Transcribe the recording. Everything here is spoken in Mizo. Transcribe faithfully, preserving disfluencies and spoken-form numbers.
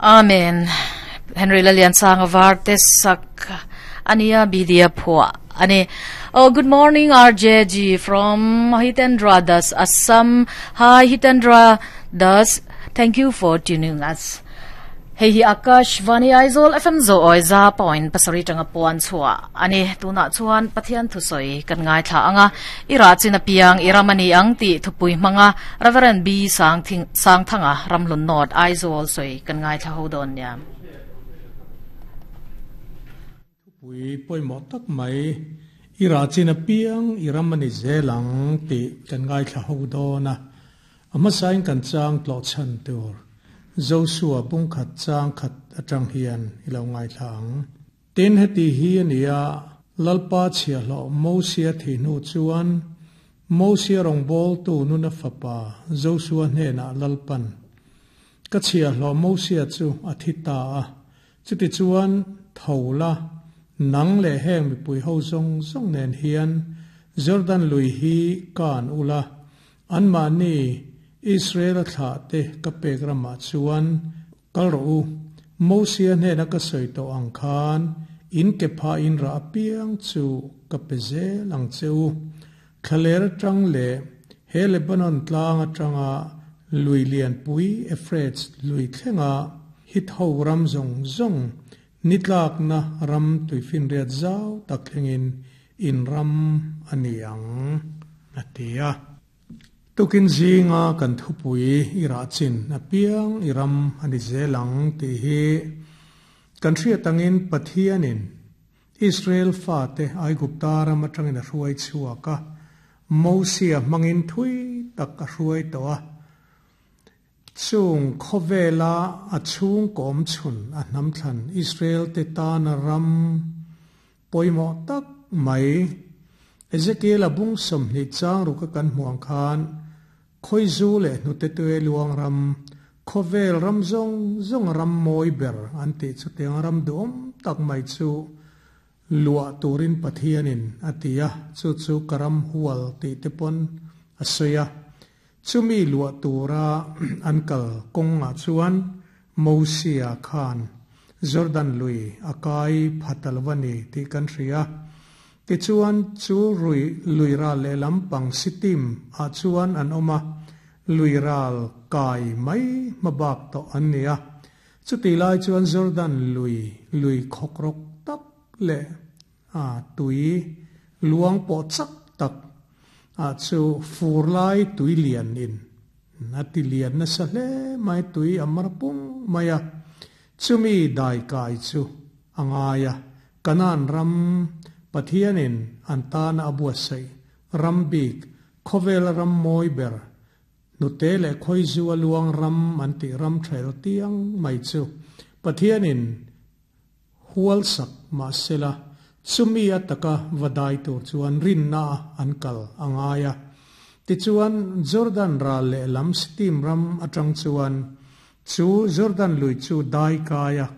Amen. Henry Lalian sang varte sak ania bidia phua ani. Oh, good morning, R J G from Hitendra Das, Assam. Hi, Hitendra Das, thank you for tuning us. Hei hi Akash Vani Aizawl F M zo oi za point pasari tanga puan chua ani. Tuna chuan Pathian thu soi kan ngai thla anga, ira china piang iramani ang ti thupui manga Reverend B Sang Thing Sang Thanga, Ramhlun North, Aizawl soi kan ngai thla ho don nia. Pui pawimawh tak mai, i rah chin apiang i ram ani zel ang tih kan ngaithla ho dawn a. A hmasain kan chang tlawh chhan tur Joshua bungkhat chang khat atang hian i lo ngaithla ang. Tin, heti hi a ni a, Lalpa chhiahhlawh Mosia thih hnu chuan Mosia rawngbawltu Nuna fapa Joshua hnenah Lalpan, Ka chhiahhlawh Mosia chu a thi ta a, chutichuan tho la, nang leh heng mipui ho zawng zawng nen hian Jordan lui hi kan ula, anmahni Israel thlah te ka pek ramah chuan kal rawh u. Mosia hnena ka sawi tawh ang khan in ke pha in rah apiang chu ka pe zel ang che u. Thlaler atang leh he Lebanon tlang atanga lui lianpui Euphrates lui thlenga Hit ho ram zawng zawng, nitlakna ram tuifinriat zau tak thlengin in ram ani ang, a ti a. Tukin zinga kan thupui, i rah chin apiang i ram ani zel ang tih hi, kan hriat angin Pathianin Israel fate Aigupta ram atangin a hruai chhuak a, Mosia hmangin thui tak a hruai tawh a. Chung khawvela a chhung kawm chhun a hnam thlan Israel te tana ram pawimawh tak mai, Ezekiel a bung sawmhnih chang ruka kan hmuang khan, khawizu leh hnute tui luang ram, khawvel ram zawng zawng ram mawi ber an tih chu tiang ram duhawm tak mai chu luah turin Pathianin a ti a, chu chu ka ram hual tih te pawn a sawi a. Chumi luah tura an kal kawngah chuan Mosia khan Jordan lui a kai phatalwani tih kan hria. Tichuan chu rui luiral leh lampang Sitim ah chuan an awm a, luiral kai mai hmabak tawh an ni a. Chuti lai chuan Jordan lui lui khawkrawk tak leh a tui luang pawh chak tak a chu fur lai tui lian in a ti lian nasa hle mai, tui a mar pung mai a. Chumi dai kai chu a ngai a, Kanan ram, Pathianin an tana a buatsaih ram bik, khawvel ram mawi ber, hnute leh khawizu a luang ram an tih ram thail tiang mai chu Pathianin hual sak mahsela, chumi ataka vadai tur chuan rinna an kal a ngai a. Tichuan Jordan ral leh lam Sitim ram atang chuan chu Jordan lui chu dai kai a.